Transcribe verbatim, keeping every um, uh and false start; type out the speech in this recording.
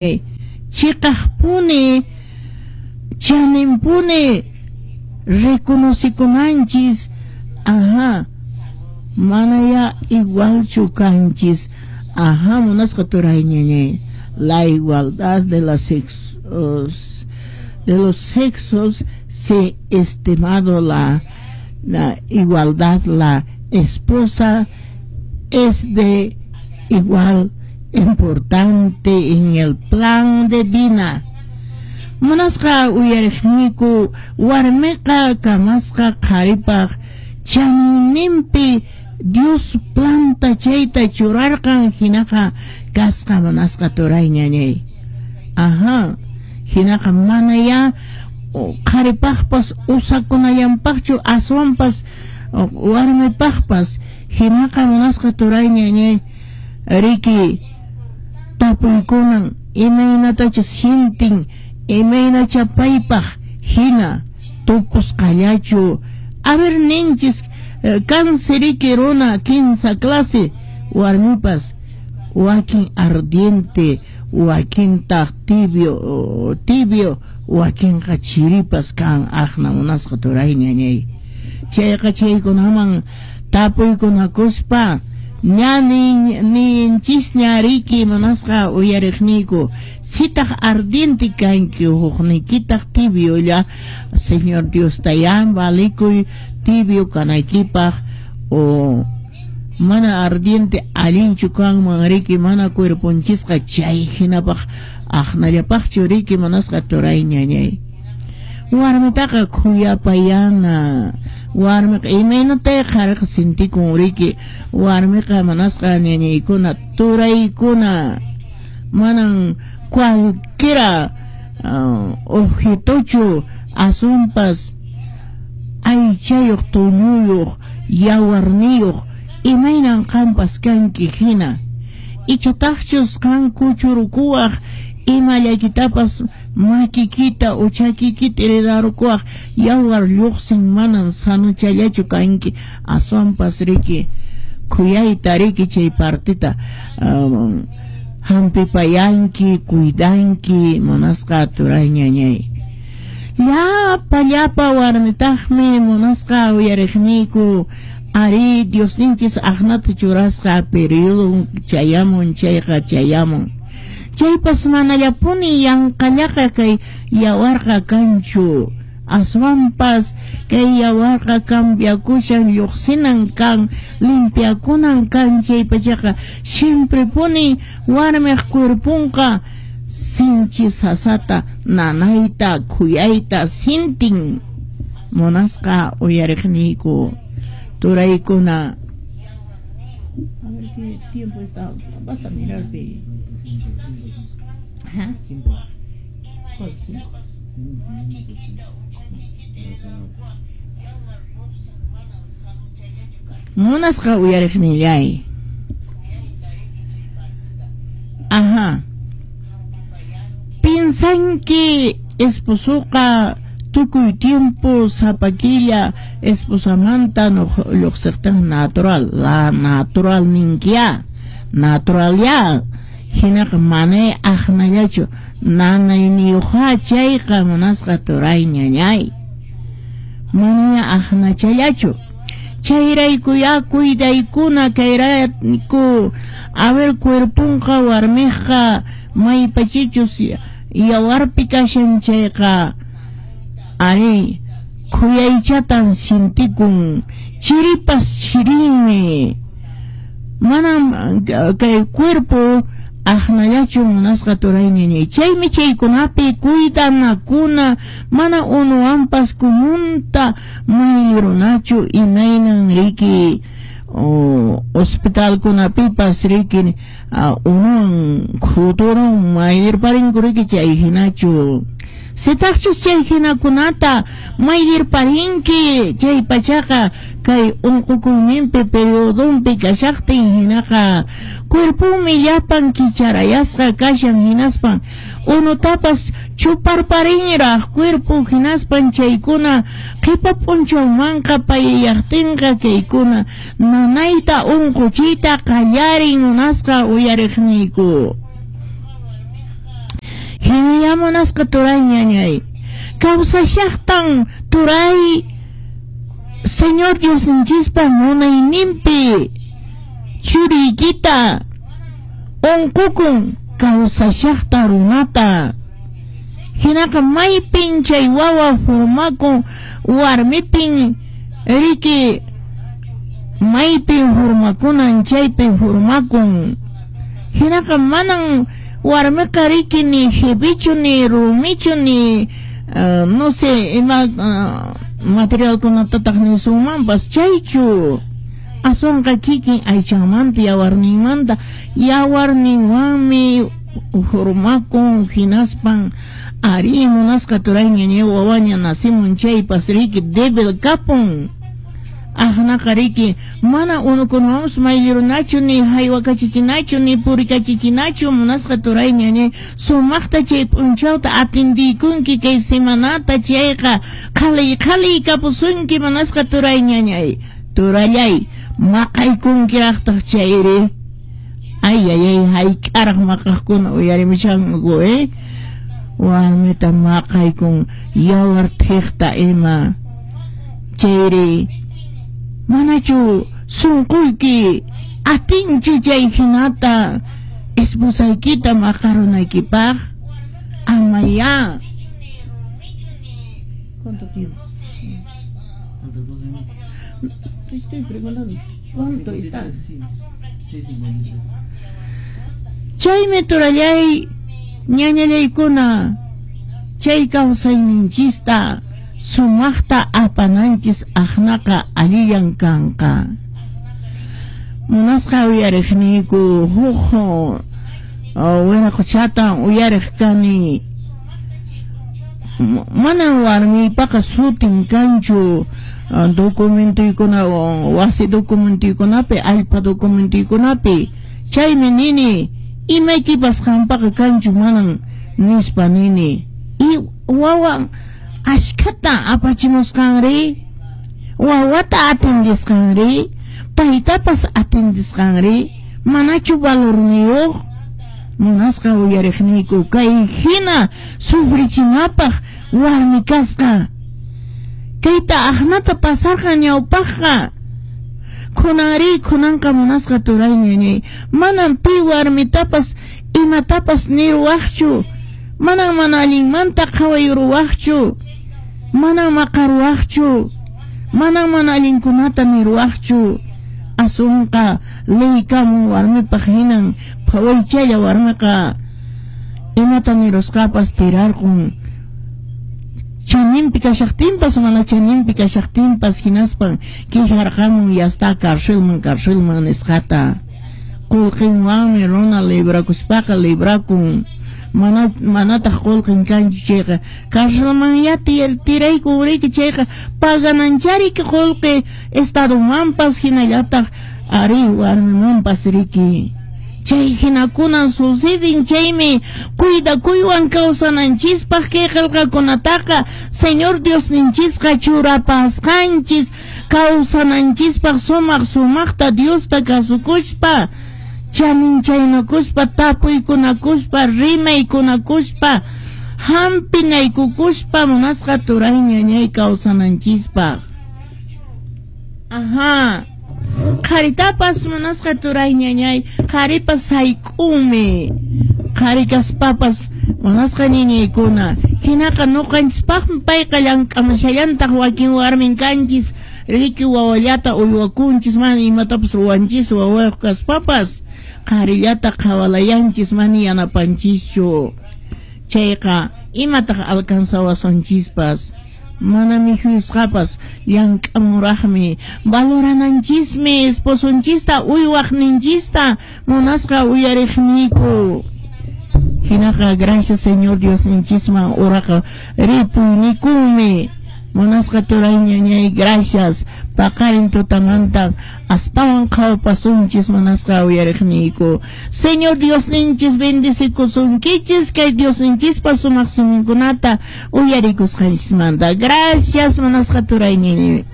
Chiqaqpuni chaninpuni reconocikunanchis, ajá, manaya igualchu kanchis, ajá, munasqa turay ñañay, la igualdad de las sexos, de los sexos se estimado la, la igualdad, la esposa es de igual importante en el plan de vida. Munasqa uyariqniyku, warmiqa kamasqa qharipaq chaninninpi Dios planta chayta churarqan, hinaqa kasqa munasqa turay ñañay. Ajá, hinaqa manaya qharipaqpas usakunallanpaqchu, aswanpas warmipaqpas. Hinaqa munasqa turay ñañay, riki tapuykunan imaynatacha sientin, imaynacha paypaq hina tupusqallachu. A ver, ninchis kansi runa kinsa clase warmipas, wakin ardiente, wakintaq tibio, tibio, wakinqa chiripas kan aqna munasqa turay ñañay. Chayqa chaykunaman tapuykunakuspa ña ninchisña riki munasqa uyariqniyku, sitaq ardiente kanki hukniykitaq tibiolla, Señor Dios tayan valikuy tibio kanaykipaq o mana ardiente allinchu kanman riki, mana cuerponchisqa chay hinapaq aqnallapaqchu riki munasqa turay ñañay. Warmitaqa khuyapayana, warmiqa imaynatay qhariqa sintikun riki, warmiqa munasqa ñañaykuna turaykuna manan cualquiera uh, objetochu, asunpas aychayuq tulluyuq yawarniyuq imaynan qampas kanki hina. Ichataqchus qan kuchurukuwaq imallaykitapas makikita o chakikita heredarukuwaq yawar lluqsin, manan sanuchallachu kanki, aswanpas riki khuyayta riki chay partita um, hampipayanki, cuidanki munasqa turay ñañay. Llapa llapa warmitaqmi munasqa uyariqniyku, ari Diosninchis aqnata churasqa periodo chayamun chayqa chayamun. Chaypas manallapuni yanqallaqa kay yawarqa kanchu, aswanpas kay yawarqa cambiakushan, lluqsinan kan, limpiakunan kan. Chaypachaqa siemprepuni warmiq cuerponqa sinchi sasata nanayta khuyayta sintin munasqa uyariqniyku turaykuna. A ver qué tiempo está, vas a mirar pe. ¿Ah? ¿Cuál cinco? Munasqa uyariqnillay. Ajá. Piensanki esposoqa tukuy tiempo sapakilla esposamanta lluqsiqtin natural, la natural ninkiya, natural ya. Hinaqa manay aqnallachu nanayniyuqqa chayqa munasqa turay ñañay, manaya aqnachallachu. Chayrayku ya cuidaykuna kayrayku. A ver, cuerpunqa warmiqqa maypachichus yawarpi kashan chayqa ari khuyaychatan sintikun, chiripas chirinmi, manam kay cuerpo aqnallachu munasqa turay ñañay. Chaymi chaykunapi cuidanakuna, mana unuwanpas kumunta mayrunachu imaynan riki o hospitalkunapipas riki unuwan khuturun mayrparinku riki chay hinachu. Sitaqchus chay hinakunata mayrparinki chay pachaqa kay unqukuyninpi periodonpi kashaqtin hinaqa cuerponmi llapan kicharayasqa kashan, hinaspan unutapas chuparparinraq cuerpo, hinaspan chaykuna qhipa p'unchawmanqa payayaqtinqa kaykuna nanayta unquchiyta qallarin munasqa uyariqniyku. Hinalla munasqa turay ñañay. Kawsashaqtan turay Señor Diosninchispa munayninpi churiykita unqukun kawsashaqta runata. Hinaqa maypin chay wawa hurmakun warmipin riki maypin hurmakunan chaypin hurmakun. Hinaqa manan warmiqa riki ni jebichu ni rumichu ni uh, no sé ima uh, materialkunatataq nisunmanpas chaychu. Aswanqa kikin aychanmanta yawarninmanta yawarninwanmi hurmakun hinaspan ari munasqa turay ñañay wawaña nacimun chaypas riki débil kapun. Aqnaqa riki mana unukunawanpas mayllirunachu ni haywakachichinachu ni purikachichinachu munasqa turay ñañay sumaqta chay p'unchawta atendiykunki kay semanata chayqa qhaliy qhaliy kapusunki munasqa turay ñañay. Turallay maqaykunkiraqtaq chayri. Ay ay ay hayk'araq maqaqkuna uyarimushanku eh warmita maqaykun yawar thiqta ima chayri. Manachu sunquyki atinchu chay hinata esposaykita maqarunaykipaq? Amaya. ¿Cuánto tiempo? Te estoy preguntando ¿cuánto está? Chaymi turallay ñañallaykuna chay kawsayninchista sumaqta apananchis aqnaqa allillan kanqa. Munasqa uyariqniyku huk wiraqochatan uyariq kani. Manan warmiypaqa sutin kanchu documentoykuna wasi documentoykunapi allpa documentoykunapi. Chaymi nini imaykipas qampaqa kanchu manan nispa nini. Y wawan ashkhata apachimusqanri, wawata atendisqanri, paytapas atendisqanri, manachu valorniyuq? Munasqa uyariqniyku kay hina sufrichinapaq warmi kasqa. Kayta aqnata pasarqa ñawpaqqa. Kunanri kunanqa munasqa turay ñañay manan pi warmitapas imatapas niruwaqchu, manan mana allinmanta qhawayruwaqchu, manan maqaruwaqchu, manan mana allinkunata niruwaqchu. Asunqa leykamun warmipaq hinan phawaychalla warmiqa imata nirusqapas tirarqun. Chaninpi kashaqtinpas mana chaninpi kashaqtinpas hinaspan quejarqamun ya está carcelman carcelman nisqata. Qullqinwanmi runa librakuspaqa librakun. Mana manataq qullqin kanchu chayqa carcelman ya tiraykun riki chayqa pagananchari qullqi estadomanpas hinallataq ari warmimanpas riki. Chay hinakunan suceden chaymi cuidakuywan kawsananchispaq kay qillqakunataqa Señor Diosninchisqa churapasqanchis kawsananchispaq sumaq sumaqta Diosta kasukuspa chaninchaynakuspa tapuykunakuspa rimaykunakuspa hampinaykukuspa munasqa turay ñañay kawsananchispaq. Ajá. Qharitapas munasqa turay ñañay qharipas sayk'unmi. Qhari kaspapas munasqa ñañaykuna hinaqa ñuqanchispaqmi payqa llank'amashallantaq wakin warmin kanchis riki wawallata uywakunchis mana imatapas ruwanchis wawayuq kaspapas qharillata qhawalayanchis mana yanapanchischu. Chayqa imataq alcanzawasunchispas mana mikhusqapas llank'amuraqmi valorananchismi esposonchista uywaqninchista munasqa uyariqniyku. Hinaqa gracias Señor Diosninchisman uraqa ripuynikunmi Munasqa turay ñañay, gracias. Paqarin tutamanta astawan qhawpasunchis munasqa uyariqniyku. Señor Diosninchis bendecikusunkichis kay Diosninchispa sumaq siminkunata uyarikusqanchismanta. Gracias munasqa turay ñañay.